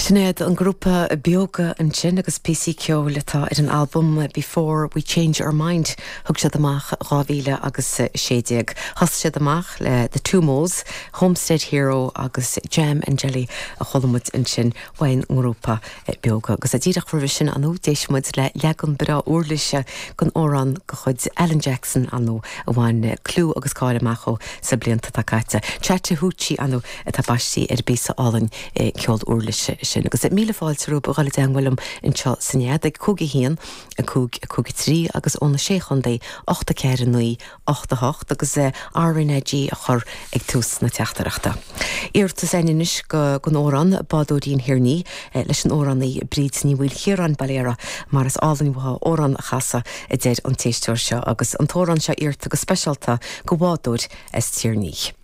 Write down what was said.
Sin iad an grúpa Beoga ansin agus píosaí ceoil atá ar an albam Before We Change Our Mind thug siad amach 2000 agus 16. Thosaigh siad amach le The Two Mo's, Homestead Hero agus Jam and Jelly a chuala muid ansin ón ngrúpa Beoga. Agus díreach roimhe sin ar ndóigh d'éist muid le leagan breá uirlise den amhrán de chuid Alan Jackson ar ndóigh a bhain clú agus cáil amach dhó sna blianta atá caite. Chattahoochee ar ndóigh atá baistí ar an bpíosa álainn ceol uirlise sin. Agus míle fáilte romhaibh a dhul i dteangmháil liom anseo sa Nead ag 5 1 5 5 3 agus ó na Sé Chontae 8 4 9 8 8 agus RnaG a chur ag tús na teachtaireachta. Iarratas againn anois don amhrán Bádóirín Thír an Fhia leis an amhránaí Bríd Ní Mhaoilchiaráin, Baile Earra, mar is álainn uaithi amhrán a chasadh a deir an t-éisteoir seo agus an t-amhrán seo iarrta go speisialta do bhádóir as Tír an Fhia.